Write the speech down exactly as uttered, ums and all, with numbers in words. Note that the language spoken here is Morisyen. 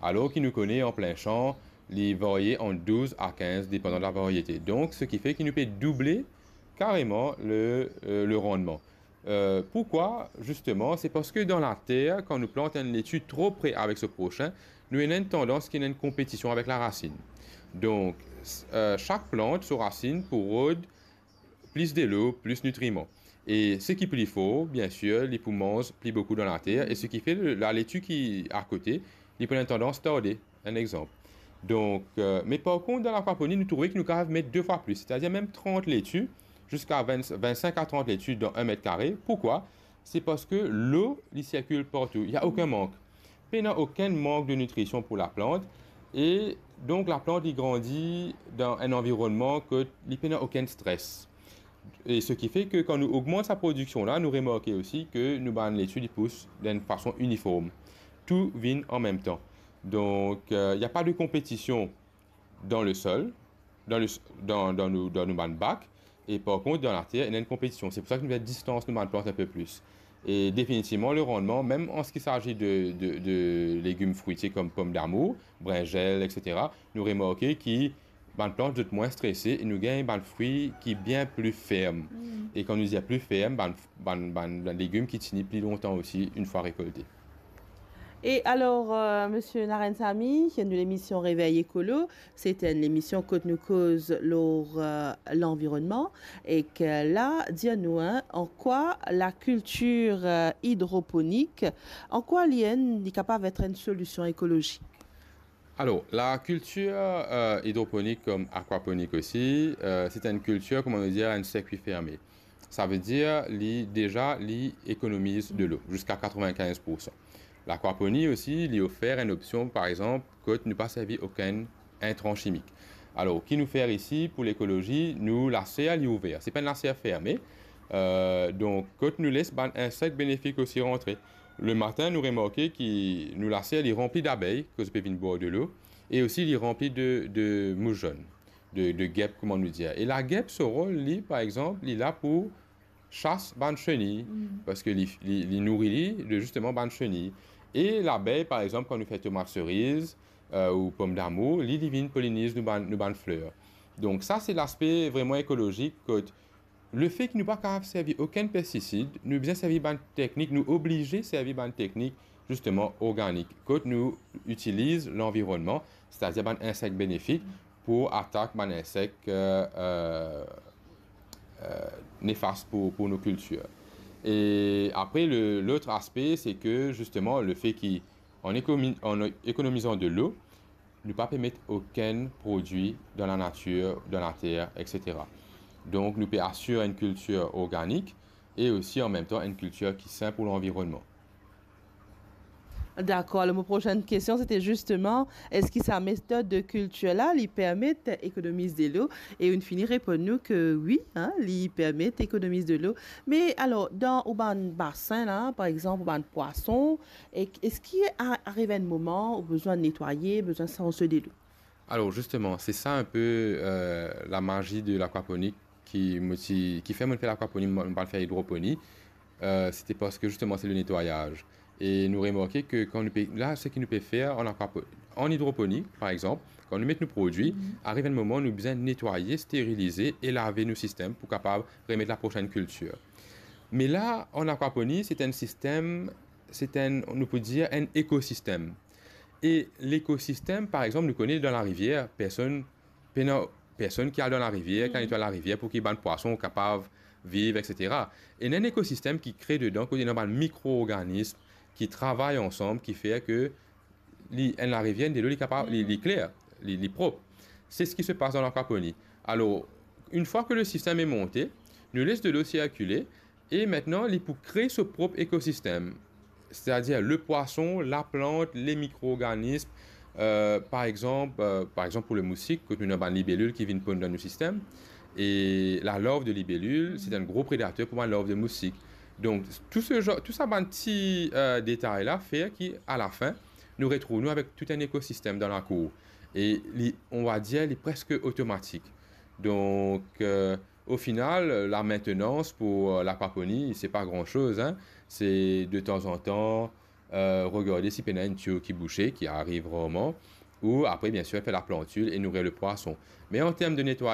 alor ki nou kone an plin san, li varye ant douz a kinz, depandan de la variete. Donk, seki fer ki nou pe double kareman le, euh, le randman. Euh, pourkwa? Zisteman, se parski dan later, kan nou plant enn leti tro pre avek so prosin, nou ena enn tandans ki ena enn konpetision avek larasinn. Donk, s-, euh, sak plant, so rasinn pou rod plis delo, plis nitriman. E seki pli for, biensir, li pou manz pli boukou dan later, e seki fer le, laleti ki akote, li pou ena enn tandans tarde, enn exanp. Donk, euh, me par kont, dan lakwaponi, nou trouve ki nou kapav met de fwa plis, setadir mem trant leti, ziska vin, vin-sink a trant leti dan enn met kare. Pourkwa? Se parski lo, li sirkil partou, li ena okenn mank. Pena okenn mank de nitrision pou laplant, e donk laplant, li grandi dan enn anvironnman kot li pena okenn stres. E seki fer ki kan nou ogmant sa prodiksion la, nou remarke osi ki nou bann leti, li pous dan enn fason iniform. Tou vinn an mem tan. Donk, euh, ena pa de konpetision dan le sol, dan le s-, dan, dan nou, dan nou bann bak, e par kont, dan later, ena enn konpetision. Se pou sa ki nou fer distans nou bann plant enn pe plis. E definitivman, le randman, mem an seki sazi de, de, de legim fritie kom pomdamour, brinzel, et cetera, nou remarke ki bann plant, zot mwin strese e nou gagn bann fri ki bien pli ferm. Mm. E kan nou dir pli ferm, bann, bann, bann, bann legim ki tini pli lontan osi, enn fwa rekolte. E alor, euh, Misie Naren Samy, nou lemision Revey Ekolo, se enn lemision kot nou koz lor, euh, lanvironnman, e ki la, dir nou, hein, an kwa lakiltir, euh, idroponik, an kwa li enn, li kapav et enn solision ekolozik? Alor, lakiltir, euh, idroponik kom akwaponik osi, euh, se enn kiltir, kouma nou dir, enn sirkwi ferme. Savedir, li, deza, li ekonomiz delo ziska katrevinkinz poursan. Lakwaponi osi, li ofer enn opsion, par exanp, kot nou pa servi okenn intran simik. Alor, ki nou fer isi pou lekolozi, nou laser li ouver. Se pa enn laser ferme. Euh, donk, kot nou les bann insek benefik osi rantre. Lematin, nou remarke ki nou laser li ranpli dabey, kot zot pe vinn bwar delo, e osi li ranpli de, de mous zonn, de, de gep, kouma nou dir. E lagep, so rol, li, par exanp, li la pou sas bann seni, mm, parski li, li, li nouri li de, zisteman, bann seni. E labey, par exanp, kan nou fer tomat seriz, euh, ou pomdamour, li, li vinn poliniz nou bann, nou bann fler. Donk sa, se laspe vreman ekolozik, kot lefe ki nou pa kapav servi okenn pestisid, nou bizin servi bann teknik, nou oblize servi bann teknik, zisteman, organik, kot nou itiliz lanvironnman, setadir bann insek benefik, pou atak bann insek, euh, euh, euh, nefas pou, pou nou kiltir. E apre, le, lot aspe, se ki, zisteman, lefe ki, an ekomi-, an ekonomizan delo, nou pa pe met okenn prodwi dan lanatir, dan later, et cetera. Donk, nou pe asir enn kiltir organik e osi, an mem tan, enn kiltir ki sin pou lanvironnman. Dakor. Alor, mo prosenn kestion, se te zisteman, eski sa metod de kiltir la, li permet ekonomiz delo? E ou'nn fini reponn nou ki wi, hein, li permet ekonomiz delo. Me alor, dan ou bann basin la, par exanp, ou bann pwason, e eski a-, ariv enn moman ou bizin netwaye, bizin sanz delo? Alor, zisteman, se sa enn pe, euh, lamazi de lakwaponik ki mo ti, ki fer mo fer lakwaponik, mo, mo pa fer idroponi, euh, se te parski, zisteman, se le netwayaz. E nou remarke ki kan nou pe, la, seki nou pe fer an akwapo-, an idroponi, par exanp, kan nou met nou prodwi, mhm, ariv enn moman, nou bizin netwaye, sterilize e lave nou sistem pou kapav remet laprosenn kiltir. Me la, an akwaponi, se enn sistem, se enn, nou pou dir, enn ekosistem. E lekosistem, par exanp, nou kone dan larivier, personn, pena personn ki al dan larivier, ki al, mhm, netway larivier pou ki bann pwason kapav viv, et cetera. E ena enn ekosistem ki kre dedan, kot ena bann mikroorganism ki travay ansam, ki fer ki li, enn larivier, enn delo, li kapav, li, li, mhm, kler, li, li prop. Se seki se pas dan lakwaponi. Alor, enn fwa ki le sistem est monté, nou les delo sirkile, e aster li pou kre so prop ekosistem, setadir le pwason, laplant, le mikroorganism, euh, par exanp, euh, par exanp pou le mousik, kot nou ena bann libelil ki vinn ponn dan nou sistem, e lalarv de libelil, se enn gro predater pou bann larv de mousik. Donk, tou se zanr, tou sa bann ti, euh, detay la fer ki, alafin, nou retrouv nou avek tou enn ekosistem dan lakour. E li, on va dir, li preske otomatik. Donk, euh, o final, la maintenance pou, euh, lakwaponi, se pa gran soz, hein. Se detanzantan, euh, regarde si pena enn tiyo ki bouse, ki ariv rarman, ou apre, bien sir, fer laplantil e nourir le pwason. Me an term de netwayaz,